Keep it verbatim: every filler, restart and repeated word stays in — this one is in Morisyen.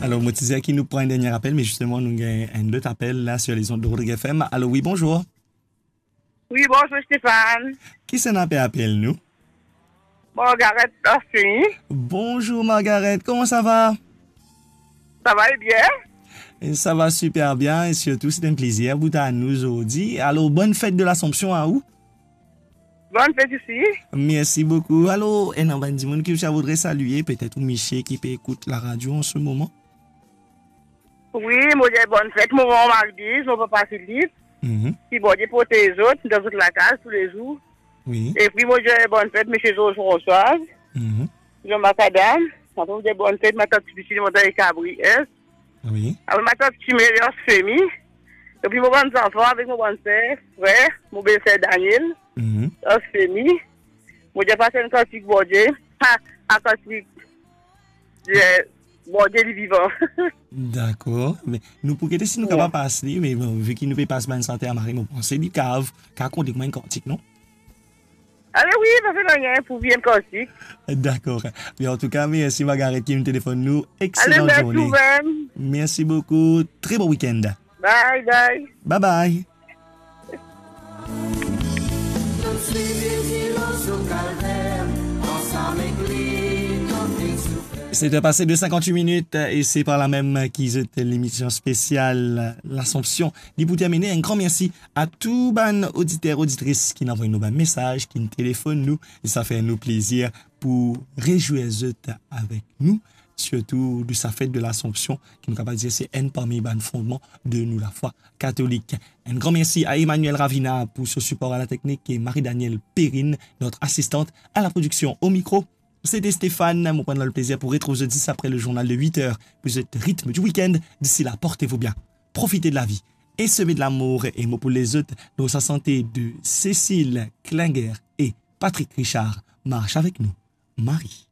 Alor, mo ti dir ki nou pran enn dernie apel, me zisteman, nou gagn enn lot apel la sur les ondes de Rodrigues F M. Alor, wi, bonzour. Wi, bonzour, Stéphane. Kisannla pe apel nou? Margaret Dorcini. Bonzour, Margaret. Kouma sa va? Sa va e bien? E sa va siper bien, e sirtou, se enn plezir pou twa nou zordi. Alor, bonn fet de Lasanpsion a ou. Bonn fet osi. Mersi boukou. Alor, ena bann dimoun ki ou ti voudre salie, petet ou misie ki pe ekout laradio an se moman? Wi, mo dir bonn fet, mo manman Magdiz, mo papa Filip. Mhm. Ki Bondie protez zot dan zot lakaz toulezour. Wi. Epi mo dir bonn fet, misie Georges Françoise. Mhm. Jean Macadam. Apre mo dir bonn fet, matant Tipiti, mo dir Kabri S. Wi. Apre matant Timelia, fami. Epi mo bann zanfan avek mo bann ser, frer, mo belser Daniel, Mhm. Orfemi. Mo dir pas enn kantik Bondie. Ha, a kantik, eh, Bondie li vivan. Dakor. Me nou pou gete si nou Wi. Kapav pas li, me bon, vi ki nou pe pas bann santer mari, mo panse li kav, kav kont li kouma enn kantik, non? Ale wi, pa fer nanye, pou vinn kantik. Dakor. Me antouka, mersi Margaret ki vinn telefonn nou. Ale, Exelan mersi zourne. Ou mem. Mersi boukou. Tre bon weekend. Bye, bye. Bye, bye. Sete pase de cinquante-huit minutes e se par la mem ki zot lemision spesial Lasanpsion li pou termine. Enn gran mersi a tou bann oditer, oditris ki inn avoy nou bann mesaz, ki inn telefonn nou. E sa fer nou plezir pou rezwir zot avek nou, sirtou de sa fet de Lasanpsion, ki nou kapav dir se enn parmi bann fondman de nou lafwa katolik. Enn gran mersi a Emmanuel Ravina pou so sipor a la teknik e Marie-Danielle Perrine, notre assistante à la production. Au micro, c'était Stéphane. Mo pran enn lot plezir pou retrouv zot zis apre le journal de huit heures pou zot Rythme du week-end. D'ici là, portez-vous bien. Profitez de la vie et semez de l'amour. E mo pou les zot dan sa sante de Cécile Klinger e Patrick Richard, Marche avec nous, Marie.